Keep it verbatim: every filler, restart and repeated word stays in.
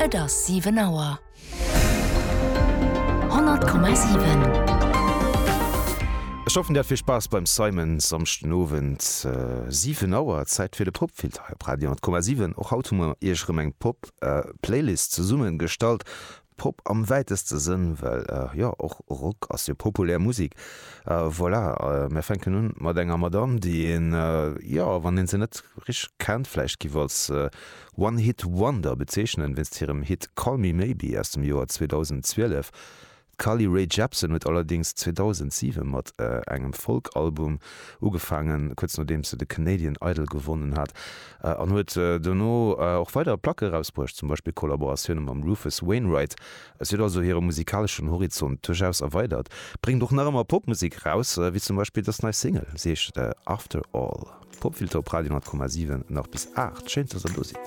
Et ass siwen Auer. Honnert Komma siwen. Ech hoffen dir hat vill Spaass beim Simon Samschden Owend siwen Auer, Zäit fir de Popfilter hei op Radio honnert Komma siwen. Och haut hu mer iech erëm eng Pop Playlist zesummen gestallt. Pop am wäiteste Sënn, well jo och Rock ass jo populär Musek. Voilà, mir fänken un mat enger Madame, déi een, jo, wann een se net richteg kennt, vläicht giff als One Hit Wonder bezeechnen, wéinst hirem Hit Call Me Maybe aus dem Joer zweedausendzwielef. D'Carly Rae Jepsen huet allerdéngs zweedausendziewen mat engem Folk-Album ugefaangen, kuerz nodeems se de Canadian Idol gewonnen hat, an huet dono och weider Placke erausbruecht, zum Beispill Kollaboratioune mam Rufus Wainwright. Si huet also hire musikaleschen Horizont duerchaus erweidert, bréngt och nach ëmmer Popmusek eraus, wéi zum Beispill dës nei Single, si heescht After All. Popfilter op Radio honnert Komma siwen nach bis aacht. Schéin, dass der do sidd.